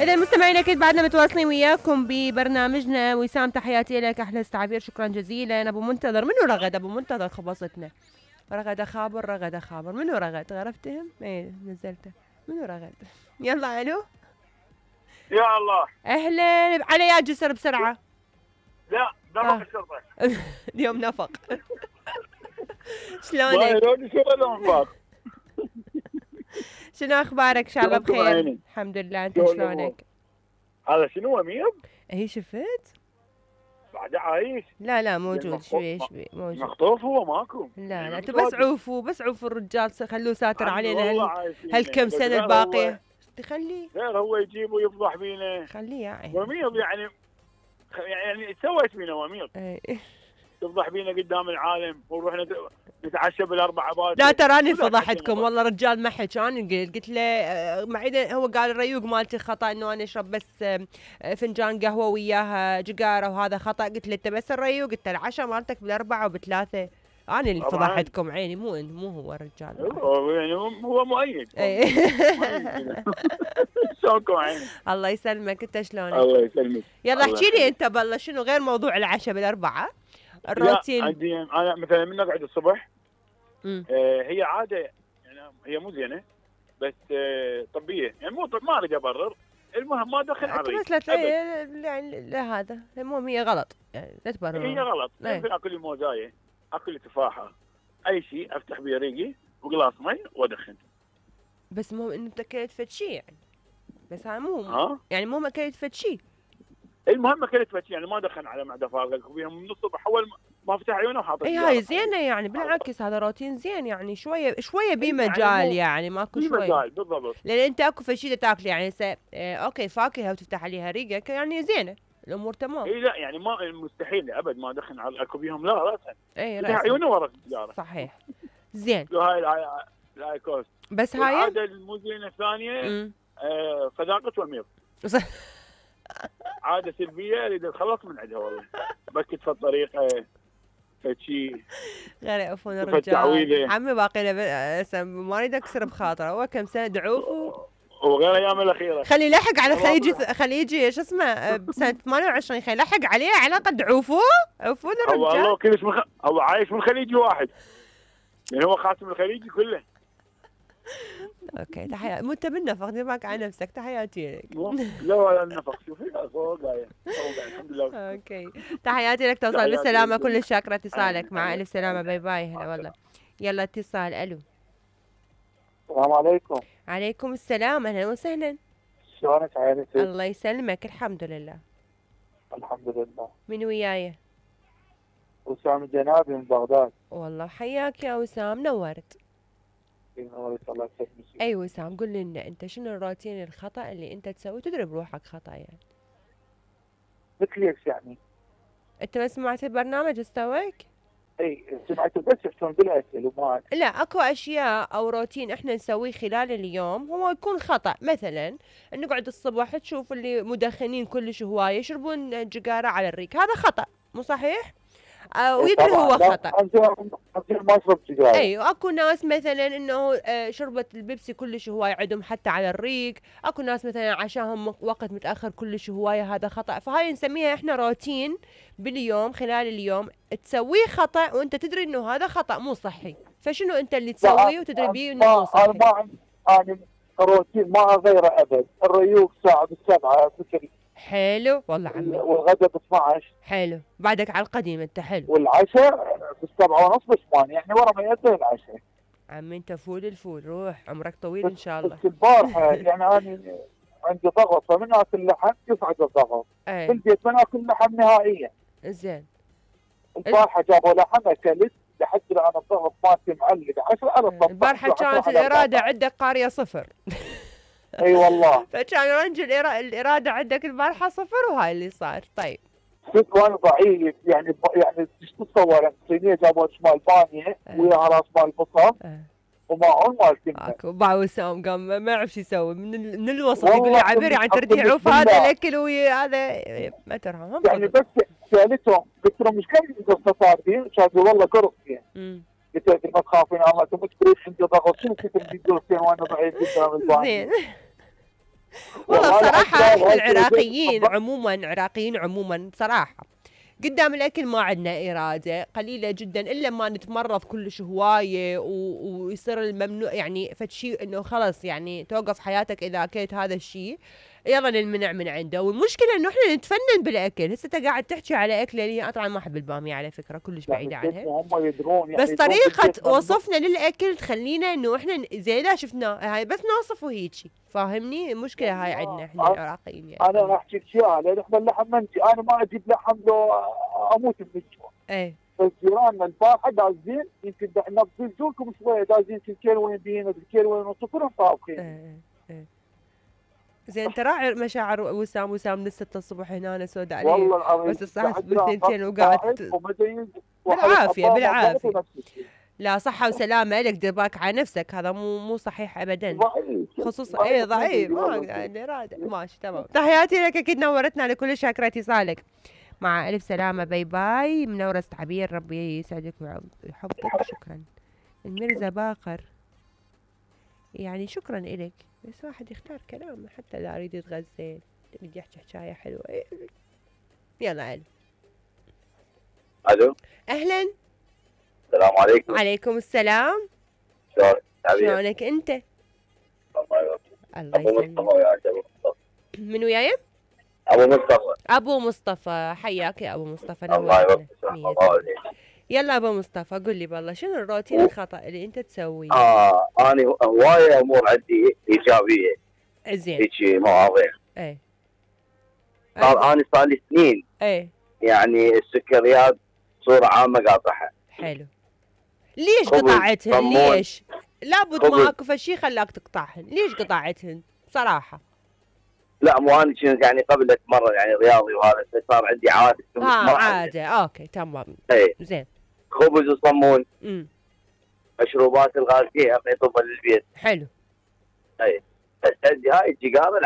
إذا مستمعين أكيد بعدنا متواصلين وياكم ببرنامجنا. وسام تحياتي لك، أحلى استعبير، شكرا جزيلا. أبو منتظر، منو رغد أبو منتظر؟ خبصتنا رغد خابر، رغد خابر، منو رغد؟ غرفتهم؟ ايه نزلته، منو رغد؟ يلا ألو. يا الله أهلا، على يا جسر بسرعة. لا نفق الشرطة اليوم نفق. شلونك؟ شنو أخبارك؟ إن شاء الله بخير. الحمد لله، أنت شلونك؟ هذا شنو أمير؟ هي شفت؟ بعد عايش؟ لا موجود شوي موجود. مخطوف هو ماكو؟ لا انتوا بس عوفوا الرجال، خلوه ساتر علينا هالكم سنة الباقية. تخليه غير هو يجيب ويفضح بينا. خليه يا عيني. وميض يعني سويت بينا وميض. تفضح بينا قدام العالم ونروح نتعشى بالاربع باكر. لا تراني فضحتكم والله. رجال ما حكى، انا قلت له معيدا، هو قال الريوق مالتي خطا، انه انا اشرب بس فنجان قهوه وياها جقاره وهذا خطا. قلت له انت بس الريوق، قلت له العشاء مالتك بالاربعه وبالثلاثه. انا اللي فضحتكم عيني، مو هو الرجال. يعني هو مؤيد. شلونكم عيني؟ الله يسلمك، انت شلونك؟ الله يسلمك. يلا احكي لي انت بالله، شنو غير موضوع العشاء بالاربعه؟ الروتين. عندي انا مثلا من اقعد الصبح هي عاده، يعني هي مو زينه بس طبيه، يعني مو ما اريد ابرر. المهم ما دخل على بس لا يعني لا، هذا المهم هي غلط، يعني لا تبرر. هي غلط. ممكن اكل موزايه، اكل تفاحه، اي شيء افتح بيه ريقي وقلاص مي وادخن. بس مو انه اكلت فد شيء يعني، بس هاي مو يعني مو اكلت فد شيء. المهم اكلت فد شيء، يعني ما دخن على معده فارغه وبيهم من الصبح اول ما فتح عيونه وحاطط. اي هاي زينه يعني، بالعكس هذا روتين زين يعني، شويه بمجال يعني ماكو شويه بمجال بالضبط. لان انت اكو فد شيء تاكل يعني اوكي فاكهه وتفتح عليها ريقك يعني زينه، الامور تمام. اي لا يعني ما مستحيل ابد ما ادخن على اكو بيهم، لا راسا. اي راسا عيونه ورا السياره. صحيح زين. هاي كوست. بس هاي العاده المو زينه الثانيه صداقه وميض. عاده سلبيه اريد اتخلص من عندها والله. بكت في الطريق فشي غير يقفون الرجال. عمي باقي له ما اريد اكسر بخاطره، هو كم سنه دعوف وغير ايام الاخيره. خلي يلحق على خلي يجي شو اسمه بسنه 28 خلي يلحق عليه علاقه عوفون الرجال. والله كلش هو عايش من خليجي واحد، يعني هو خاتم الخليجي كله. اوكي تحياتي. مو انت بالنفق، دير بالك على نفسك. تحياتي لك. لا ولا النفق، شوفي فوق قاعد الحمد لله. اوكي تحياتي لك، توصل بالسلامه. كل شاكره اتصالك. مع الف سلامه. باي باي. هلا والله. يلا اتصال. الو. السلام عليكم. عليكم السلام، اهلا وسهلا. شلونك عينتي؟ الله يسلمك، الحمد لله. الحمد لله. من وياي؟ وسام الجنابي من بغداد. والله حياك يا وسام، نورت. الله يسلمك. اي وسام قل لنا انت شنو الروتين الخطا اللي انت تسوي تدري بروحك خطا يعني؟ مثل ايش يعني؟ انت ما سمعت البرنامج استويك؟ اي سمعته بس يحسون بالاسئله وما لا اكو اشياء او روتين احنا نسويه خلال اليوم هو يكون خطا. مثلا نقعد الصبح تشوف اللي مدخنين كلش هوايه يشربون جقاره على الريق، هذا خطا مو صحيح؟ ويدري هو خطا. ما اشرب سيجاره. اي واكو ناس مثلا انه شربت البيبسي كلش هوايه عندهم حتى على الريق. اكو ناس مثلا عشاهم وقت متاخر كلش هوايه، هذا خطا. فهاي نسميها احنا روتين باليوم خلال اليوم تسويه خطا وانت تدري انه هذا خطا مو صحي. فشنو انت اللي تسويه وتدري بيه انه مو صحي؟ انا روتين ما اغيره ابد. الريوق ساعه بالسبعه بكري. حلو والله عمي. والغداء ب 12. حلو، بعدك على القديم انت. حلو. والعشاء ب7:30 ب8، يعني ورا ما ينتهي العشاء. عمي انت فول الفول، روح عمرك طويل ان شاء الله. بس البارحه يعني انا عندي ضغط، فمن اكل لحم يصعد الضغط. في البيت ما ناكل لحم نهائيا. زين. البارحه جابوا لحم اكلت لحد الان الضغط مالتي معلق 10 على الصف. البارحه كانت الاراده عندك قاريه صفر. اي والله. فكان رنج الاراده عندك البارحه صفر وهاي اللي صار. طيب صدق وانا ضعيف يعني ايش تتصور؟ صينيه جابوا شمال بانيه وياها راس مال بصل وماعون مال كنا. اكو باع وسام قام ما يعرف شو يسوي من الوسط. يقول لي عبير يعني تريد يعوف هذا الاكل وهذا ما ترى يعني. بس سالتهم قلت لهم ايش كان قصه صار فيه؟ كانوا والله قرصين. قلت لهم ما تخافين الله انتم مش عندي ضغط. شنو كنت بدي قرصين وانا ضعيف قدام البانيه؟ زين والله بصراحة احنا العراقيين عموما بصراحة قدام الاكل ما عندنا اراده قليله جدا الا ما نتمرض كلش هوايه ويصير الممنوع يعني فد شيء انه خلص يعني توقف حياتك اذا اكلت هذا الشيء يلا ننمنع من عنده. والمشكله انه احنا نتفنن بالاكل. هسه انت قاعد تحكي على اكله اللي انا طبعا ما احب الباميه على فكره كلش بعيده عنها. هم يدرون يعني بس طريقه وصفنا للاكل تخلينا انه احنا زي لا شفناه هاي بس نوصفه هيجي فاهمني. المشكله هاي عندنا احنا العراقيين يعني. انا راح احكي لك شيء لان احنا اللحم منسي انا ما اجيب لحم لو اموت من الجوع. ايه بس جيراننا البارحه دازين يمكن نبذلكم شويه دازين كيلو وين بين كيلو وين ونص كلهم طابخين. ايه زين انت راعي مشاعر وسام من 6 الصبح هنا انا سود عليه والله العظيم بس الساعه 2 وقاعد بالعافيه. لا صحة وسلامة لك دير بالك على نفسك هذا مو صحيح ابدا خصوصا ايه ضعيف ما اراده ماشي تمام. تحياتي لك اكيد نورتنا على كل شاكرة اتصالك. مع الف سلامة باي باي منورة عبير ربي يسعدك ويحفظك. شكرا. الميرزا باقر يعني شكرا إلك بس واحد يختار كلام حتى لا اريد يتغزل بدي احكي حكايه حلوه. يلا الو اهلا السلام عليكم. عليكم السلام. شلونك انت؟ الله يسلمك. من وياي؟ ابو مصطفى حياك يا ابو مصطفى. الله يوفقك. يلا ابو مصطفى قل لي بالله شنو الروتين الخطا اللي انت تسويه؟ انا هوايه امور عندي ايجابيه زين هيك مواضيع. ايه انا صار لي سنين يعني السكريات بصوره عامه قاطعها. حلو. ليش قطعتهن؟ ليش؟ لابد ما اكو فشي خلاك تقطعهن. ليش قطعتهن بصراحه؟ لا مو انا كنت يعني قبل اتمرن يعني رياضي وهذا صار عندي عاده. عاده اوكي تمام. ايه زين. خبز وصمون. مشروبات الغازيه اعطي طبا للبيت. حلو. اي بس عندي هاي الجقاره العرض